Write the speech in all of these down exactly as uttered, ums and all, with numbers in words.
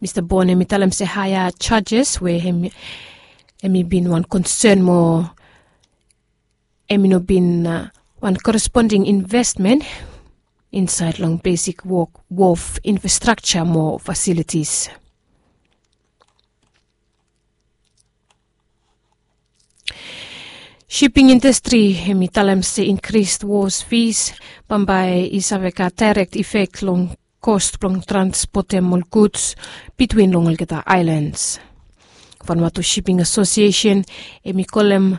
Mista Bon hem i talem se haea jajes we hem i bin wan konsen mo hem i no bin wan koresponding investmen insaed long besik wok wof infrastrakja mo fasilitis. Shiping indastri hem i talem se inkris wos fis bambae i save gat daerek ifek long kos blong transpotem ol guds bitwin long olgeta aelans. Vanvatu shiping asosiesen hem i kolem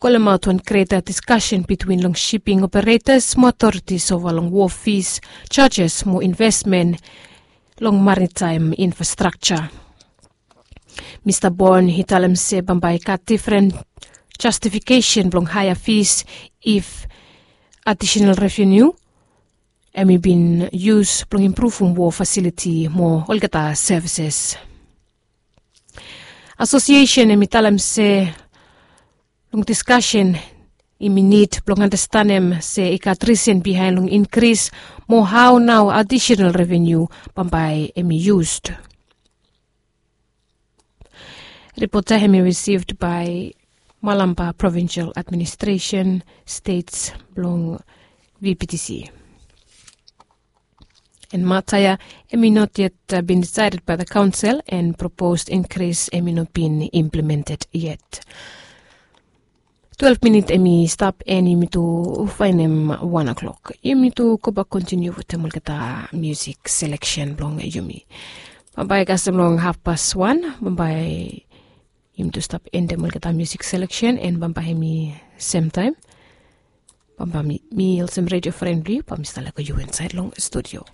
kolemaot wan greta diskasen bitwin long shiping operetas mo aotoritis ova long wof fis jajes mo investmen long maritaem infrastrakja. Mista Bon i talem se bambae i gat difren jastifikesen blong haea fis if adisenal revenu hem i bin yus blong impruvum wof fasiliti mo olgeta sevises. Asosiesen hem i talem se long diskasen hem i nid blong anastenem se i gat risen bihaen long inkris mo hao nao adisenal revenu bambae hem i yus. Ripota hem i risivd bae malamba provinsel administresen stets blong vptc. En mata ya hem i not yet bin disaeded bae the kaonsel en proposed inkris hem i no bin implemented yet. Twelef minit hem i stap en yumi tu faenem wan oklok yumi tu gobak kontiniu wetem olgeta musik seleksen blong yumi. Bambae kasem long hafpas wan bambae yumi tu stap endem olgeta musik seleksen en bambae hem i semtaem bambae mi olsem redio fren blong yu bambae mi stap lego yu insaed long studio.